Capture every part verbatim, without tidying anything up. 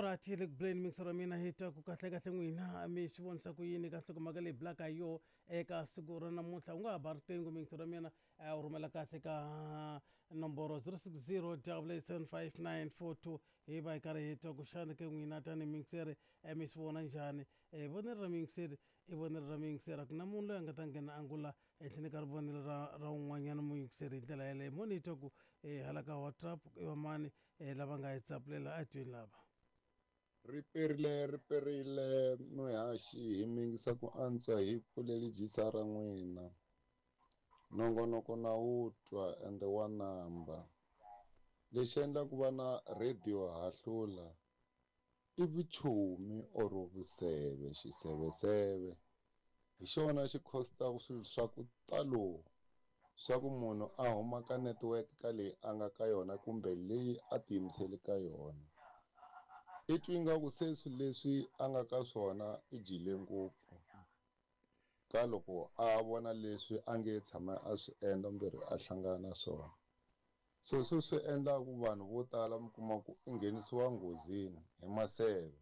Alright, hi le ku buleni mixer wa mina, hi twa ku kahle kahle n'wina mi swi vonisa ku yini ka nhlokomhaka leyi bulaka hi yoho eka siku ra namuntlha. U nga ha ba riqingho, mixer wa mina, eh, u rhumela kahle ka nomboro zero six zero double eight seven five nine four two, hi va hi karhi hi twa ku xana ke n'wina tanihi mixer eh, mi swi vona njhani. Eh, vonelo ra mixer i vonelo ra mixer, a ku na munhu loyi a nga ta nghena angula ehenhleni ka rivonelo ra ra un'wanyana muyingiseri hi ndlela yeleyo. Mo ni twa ku eh, hala ka WhatsApp i vamani eh, lava nga hi tsapulela, a hi tweni lava. Ri perile, ri perile muhaxi, hi mingisa ku antswa hi pfuleli dyisa ra n'wina. Nongonoko na wu twa ende wa namba. Lexi endlaku va na radio hahlula i vuchomi or vuseve, xiseveseve. Hi xona xi costaka swilo swa ku talo, swa ku munhu a huma ka network ka leyi a nga ka yona kumbe leyi a tiyimisele ka yona. I twi ingaku se swilo leswi a nga ka swona i dyile ngopfu ka loko a vona leswi a nge tshama a swi endla kumbe a hlangana na swona. So sweswi swi endla ku vanhu vo tala mi kuma ku i nghenisiwa nghozini hi maseve,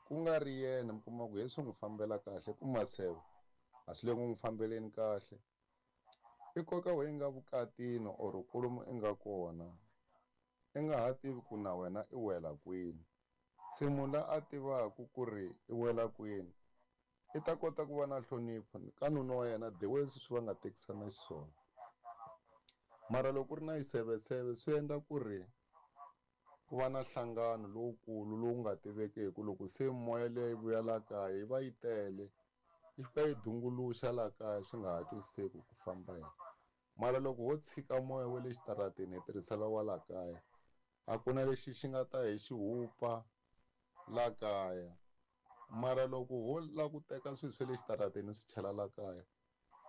ku nga ri yena, mi kuma ku he swi n'wi fambela kahle ku maseve a swi le ku n'wi fambeleni kahle. I koka we nga vukatini or kolomu i nga kona, i nga ha tivi ku na wena i wela kwini. Se munhu la a tivaka ku ri i wela kwini i ta kota ku va na nhlonipho ka nuna wa yena the way sweswi va nga tekisana xiswona. Mara loko ku ri na xiseveseve swi endla ku ri ku va na nhlangano lowukulu lowu nga tivekeki, loko se moya leyi yi vuya la kaya yi va yi tele, yi fika yi dunguluxa la kaya swi nga ha twisiseki ku famba yini. Mara loko ho tshika moya wa le xitarateni hi tirhisela wa la kaya, a ku na lexi xi nga ta hi xi hupa la kaya. Mara loko ho lava ku teka swilo swa le xitarateni swi chela la kaya,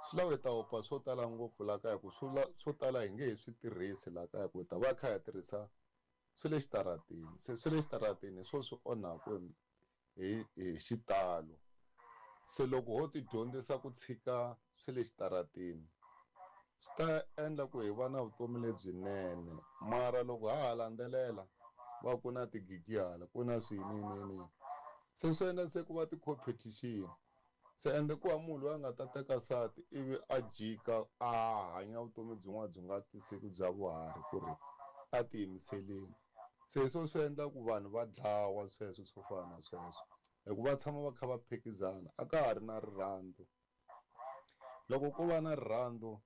swi lava hi ta hupa swo tala ngopfu la kaya, ku swo la, swo tala hi nge he swi tirhisi la kaya, ku hi ta va kha hi tirhisa swi le xitarateni. Se swi le xitarateni hi swona swi onhaka hi, hi xitalo. Se loko ho ti dyondzisa ku tshika swi le xitarateni, swi ta endla ku hi va na vutomi lebyinene. Mara loko ha ha landzelela va ku na tigigi hala, ku na swinene, se swi endla se ku va ti-competition. Se ende ku va munhu loyi a nga ta teka nsati ivi a jika a hanya vutomi byin'wana byi nga twisiseki bya vuharhi ku ri a tiyimiseleni. Se hi swona swi endla ku vanhu va dlawa sweswo swo fana na sweswo, hikuva va tshama va kha va phikizana, a ka ha ri na rirhandzu. Loko ko va na rirhandzu,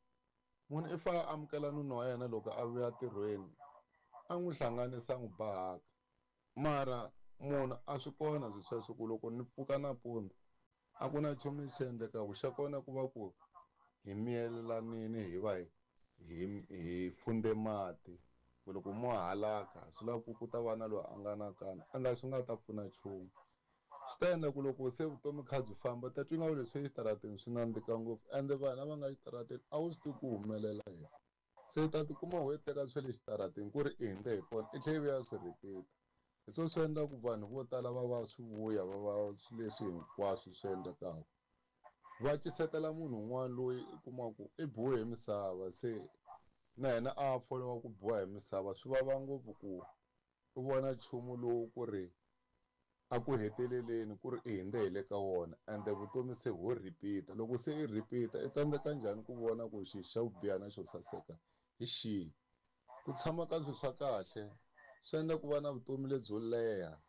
munhu i fanele a amukela nuna wa yena loko a vuya ntirhweni, a n'wi hlanganisa a n'wi ba haka. Mara munhu a swi kona swilo sweswo ku loko ni pfuka nampundzu a ku na nchumu lexi endlekaka, xa kona ku va ku hi miyelelanini, hi va hi, hi, hi funde mati. Ku loko mo halaka swi lava ku ku ta va na loyi a nga na nkani, a nga swi nga ta pfuna nchumu. Swi ta endla ku loko se vutomi kha byi famba, ta twa ingaku leswi exitarateni swi nandzika ngopfu, ende vanhu lava nga exitarateni a wu swi tivi ku humelela yini. Se u ta tikuma u teka swa le xitarateni ku ri i hundze hi kona, i tlhela i vuya swi repeat. Hi swona swi endlaku ku vanhu vo tala va va swi vuya va va swilo leswi hinkwaswo swi endlekaka. Va cisetela munhu un'wana loyi u kumaka ku i biwe hi misava, se na yena a foliwa ku biwa hi misava. Swi vava ngopfu ku u vona nchumu lowu ku ri a ku heteleleni ku ri i hundze hi le ka wona, ende vutomi se ho repeat. Loko se i repeat, i tsandzeka njhani ku vona ku xi xa ku biha na xo saseka hi xihi? Ku tshama ka swilo swa kahle swi endla ku va na vutomi lebyo leha.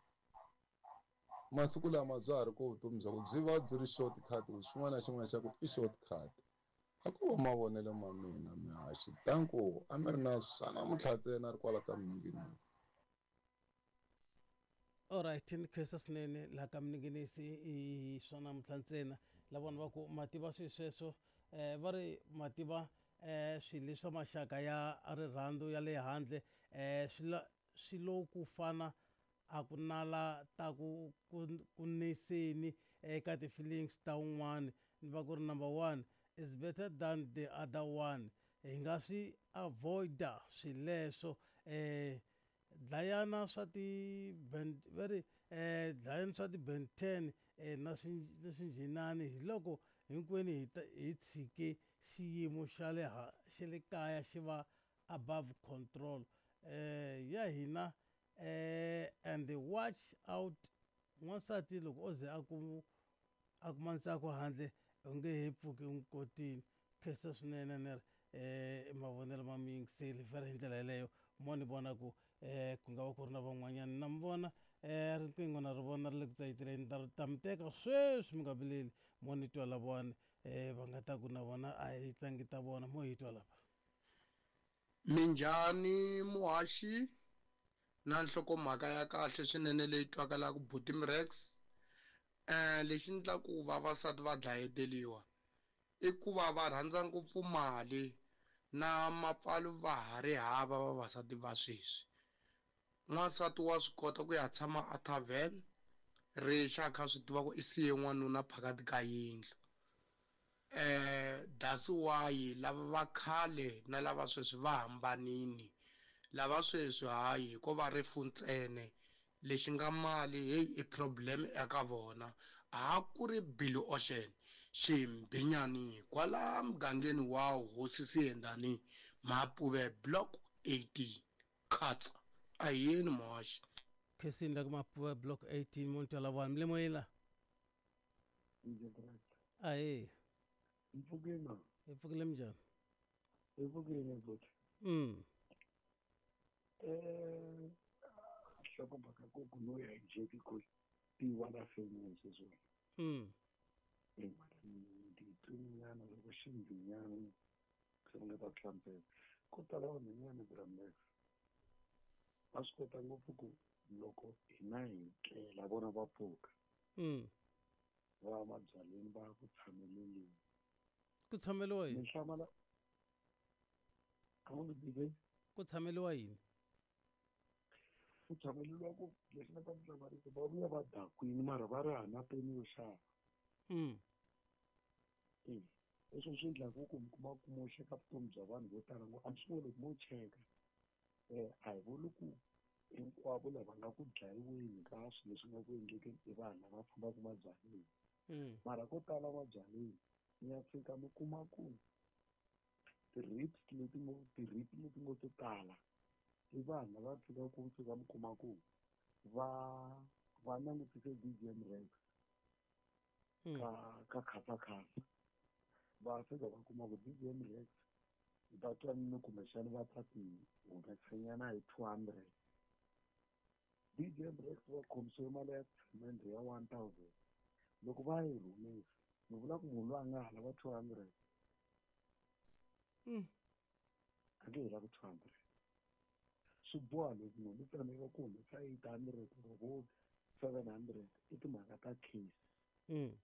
Masiku lama bya ha ri ko vutomi bya ku byi va byi ri short cut, xin'wana na xin'wana xa ku i short cut. A ku va mavonelo ma mina mihaxi. Danko, a mi ri na swa namuntlha ntsena ri kwala ka Minginisi. Alright, ni khensa swinene laha ka Minginisi i swa namuntlha ntsena. La vona va ku mativa swilo sweswo, eh, va ri mativa, eh, swilo leswa maxaka ya rirhandzu ya le handle, eh, swi la, swi lo ku fana a ku nala ta ku, ku, ku niseni eka ti-feelings ta un'wana. Ni va ku ri number one is better than the other one. Hi nga swi avoid-a swileswo. Eh, dlayana swa ti ben, va ri, eh, dlayana swa ti Ben ten, eh, na swi, na swinjhinani, hi loko hinkwenu hi ta, hi tshike xiyimo xa le ha, xa le kaya xi va above control. Eh, ya hina, eh and watch out n'wansati loko o ze a ku a kuma ntsako handle u nge he pfuki u n'wi kotini. Khensa swinene ni ri eh mavonelo ma mi yingiseli vhele hi ndlela yeleyo mo ni vona ku eh ku nga va ku ri na van'wanyana na mi vona eh riqingho na ri vona ri le ku tsayiteleni ta ta mi teka sweswi mi nga vileli mo ni twa lavawani eh va nga ta ku na vona a hi tlangi ta vona mo hi twa lava. Minjhani muhaxi na nhlokomhaka ya kahle swinene leyi twakalaka buti Mrex. Eh lexi endlaku vavasati va dlayeteriwa i ku va va rhandza ngopfu mali na mapfalo va ha ri hava vavasati va sweswi. N'wansati wa swi kota ku ya tshama a tavern rixa a kha swi tiva ku i siye n'wanuna phakathi ka yindlu. Eh that's why lava va khale na lava sweswi va hambanini. Lava sweswi hayi ko va rifu ntsena lexi nga mali hey i problem eka vona. A ku ri Billy Ocean ximbinyani kwala mugangeni wa Hosi Siyendani Mapuve block eighteen Khatsa. A yini muhaxi Khensini la ku Mapuve block eighteen mo ni twa lavawani mi le moyeni la? Ahee. Mpfukile na? Hi pfukile minjhani? Hi pfukile buti. Mm. Eh nhlokomhaka ku ku no ya hi ku tiva la feni sweswo. Mm. Eh nditwinyana loko ximbinyana se nga ta hlamusela. Ko tala vanhwanyana Bramlex va swi kota ngopfu ku loko hina hi tlela vona va pfuka. Mm. Va mabyaleni va ku tshameleni. Ku tshameliwa yini? Ni hlamala a wu ni tivi? Ku tshameliwa yini? Ku tshameliwa ku lexi nga ta mi hlamarisa va vuya va dakwini mara va ri hana peni yo xava. Mm. Eh, leswi swi endlaku ku mi kuma ku moxeka vutomi bya vanhu vo tala ngopfu. A mi swi voni loko mo cheka eh a hi vuli ku hinkwavo lava nga ku dlayiweni ka swilo leswi nga ku endlekeni i vanhu lava fambaka mabyaleni. Mm. Mara ko tala mabyaleni mi ya fika mi kuma ku ti-rape leti ngo ti-rape leti ngo to tala i vanhu lava fikaka ku fika mi kuma ku va va langutise D J Mrex Mm. ka ka Khasakhasa. Va fika va kuma ku D J Mrex va twa ni kumbexana va ta ti humesanyana hi two hundred. D J Mrex va khomisiwe mali ya cement ya one thousand. Loko va yi rhumisa ni vula ku munhu loyi a nga ha lava two hundred. Mm. A nge he lavi two hundred. Swi boha loko munhu u tsandzeka ku humesa eight hundred or vo seven hundred i timhaka ta case. Mm.